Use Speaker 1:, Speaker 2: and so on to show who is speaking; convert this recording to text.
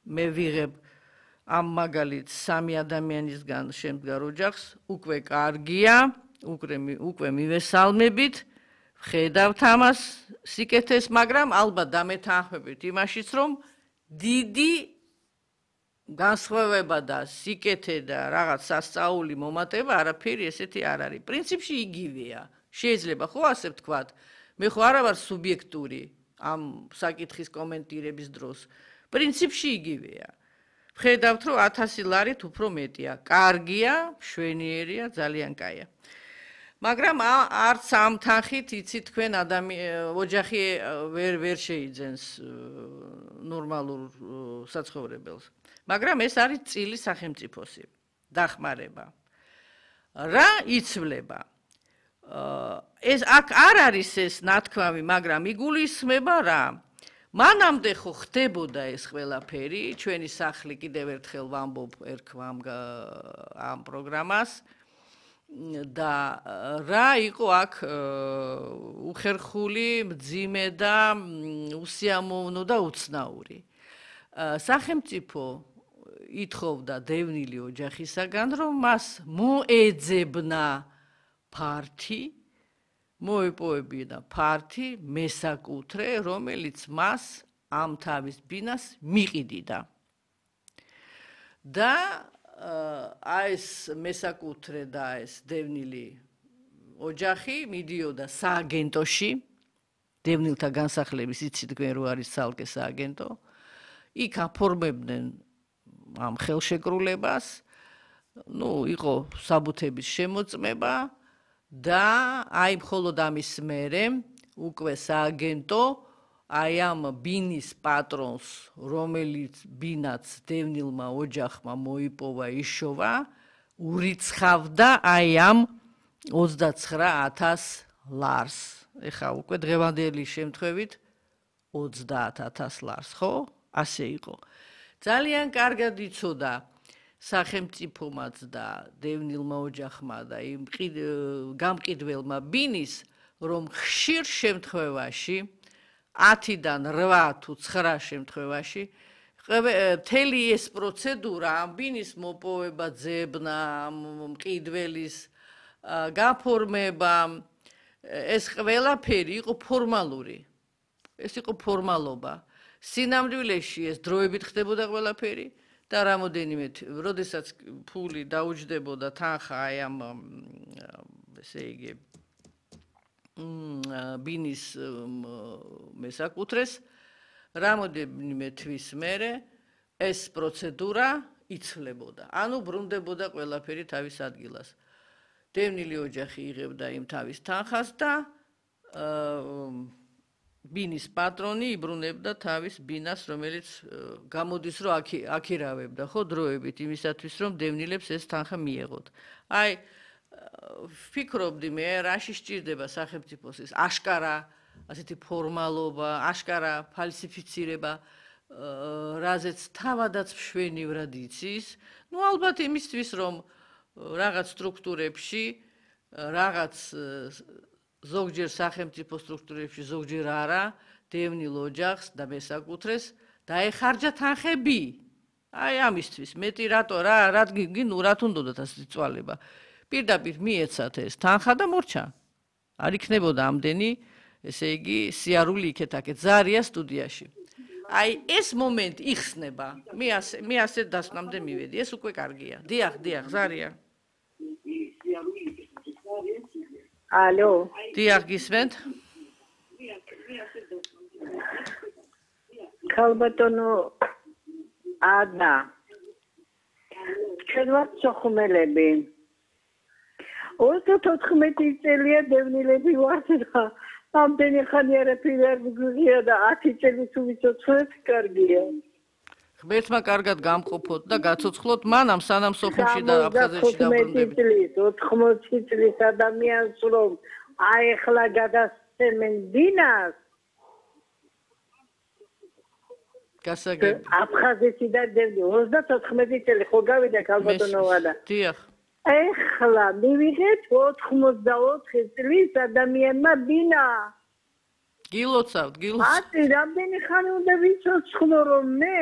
Speaker 1: მე ვიღებ ამ მაგალითს 3 ადამიანისგან შემდგარ ოჯახს, უკვე კარგია, უკვე მივესალმებით, ვხედავთ ამას სიკეთეს, მაგრამ ალბათ დამეთანხმებით იმაშიც, რომ დიდი განსხვავება და სიკეთე და რაღაც სასწაული მომატება არაფერი ესეთი არ არის. პრინციპში იგივეა. შეიძლება ხო ასე ვთქვათ, მე ხო არა ვარ სუბიექტური ამ საკითხის კომენტირების დროს. პრინციპში იგივეა. ვხედავთ, რომ 1000 ლარით უფრო მეტია. კარგია, მშვენიერია, ძალიან კაია. მაგრამ არც ამ თანხით იცი თქვენ ოჯახი ვერ შეიძენს ნორმალურ საცხოვრებელს. მაგრამ ეს არის წილი სახელმწიფოსი, დახმარება. რა იცვლება? ეს აქ არ არის ეს ნათქვამი, მაგრამ იგულისხმება რა? მანამდე ხო ხდებოდა ეს ყველაფერი, ჩვენი სახლი კიდევ ერთხელ ვამბობ ერქვამ ამ პროგრამას და რა იყო აქ უხერხული, მძიმე და უსიამოვნო და უცნაური. სახელმწიფო ითხოვდა დევნილი ოჯახისაგან, რომ მას მოეძებნა ფართი, მოეპოვებინა ფართი მესაკუთრე, რომელიც მას ამ თავის ბინას მიყიდიდა. და ეს მესაკუთრე და ეს დევნილი ოჯახი მიდიოდა სააგენტოში, დევნილთა განსახლების იცით თქვენ რო არის ცალკე სააგენტო, იქ აფორმებდნენ ამ ხელშეკრულებას, იყო საბუთების შემოწმება და აი მხოლოდ ამის მერე უკვე სააგენტო აი ამ ბინის პატრონს, რომელიც ბინაც დევნილმა ოჯახმა მოიპოვა, იშოვა, ურიცხავდა აი ამ 29,000 ლარს. ეხა უკვე დღევანდელი შემთხვევით 30,000 ლარს, ხო? ასე იყო. ძალიან კარგად იცოდა სახელმწიფომაც და დევნილმა ოჯახმა და იმ გამყიდველმა ბინის, რომ ხშირ შემთხვევაში 10-დან 8 თუ 9 შემთხვევაში მთელი ეს პროცედურა ამ ბინის მოპოვება, ძებნა, მყიდველის გაფორმება, ეს ყველაფერი იყო ფორმალური. ეს იყო ფორმალობა. სინამდვილეში ეს დროებით ხდებოდა ყველაფერი და რამოდენიმე, როდესაც ფული დაუჯდებოდა თანხა აი ამ ესე იგი ბინის მესაკუთრეს, რამოდენიმე თვის მერე ეს პროცედურა იცვლებოდა. ანუ ბრუნდებოდა ყველაფერი თავის ადგილას. დევნილი ოჯახი იღებდა იმ თავის თანხას და ბინის პატრონი იბრუნებდა თავის ბინას, რომელიც გამოდის, რომ აქირავებდა ხო დროებით იმისათვის, რომ დევნილებს ეს თანხა მიეღოთ. აი ვფიქრობდი მე, რაში სჭირდება სახელმწიფოს ეს აშკარა ასეთი ფორმალობა, აშკარა ფალსიფიცირება, რაზეც თავადაც მშვენივრად იცის. ალბათ იმისთვის, რომ რაღაც სტრუქტურებში, რაღაც ზოგჯერ სახელმწიფო სტრუქტურებში, ზოგჯერ არა, დევნილ ოჯახს და მესაკუთრეს დაეხარჯა თანხები. აი ამისთვის, მეტი რატო რათ უნდათ ასეთი წვალება. პირდაპირ მიეცათ ეს თანხა და მორჩა. არ იქნებოდა ამდენი, ესე იგი, სიარული იქეთ-აქეთ, ზარია სტუდიაში. აი ეს მომენტი იხსნება. მე ასე დასკვნამდე მივედი. ეს უკვე კარგია. დიახ, ზარია.
Speaker 2: ალო.
Speaker 1: დიახ, გისმენთ?
Speaker 2: ქალბატონო ადა. ჩვენ ვართ სოხუმელები. 34 წელია დევნილები ვართ და ამდენი ხანი არაფერი არ მიგღია და 10 წელი თუ ვიცოცხლეთ კარგია.
Speaker 1: ღმერთმა კარგად გამყოფოთ და გაცოცხლოთ მანამ სანამ სოხუმში და აფხაზეთში დაბრუნდებით.
Speaker 2: 80 წლის ადამიანს რომ აეხლა გადასცემენ ბინას.
Speaker 1: გასაგები.
Speaker 2: აფხაზეთი და 34 წელი ხო გავიდა ქალბატონო ვადა.
Speaker 1: დიახ.
Speaker 2: ეხლა მივიღეთ 84 წლის ადამიანმა ბინა.
Speaker 1: გილოცავთ.
Speaker 2: ათი რამდენი ხანი უნდა ვიცოცხლო რომ მე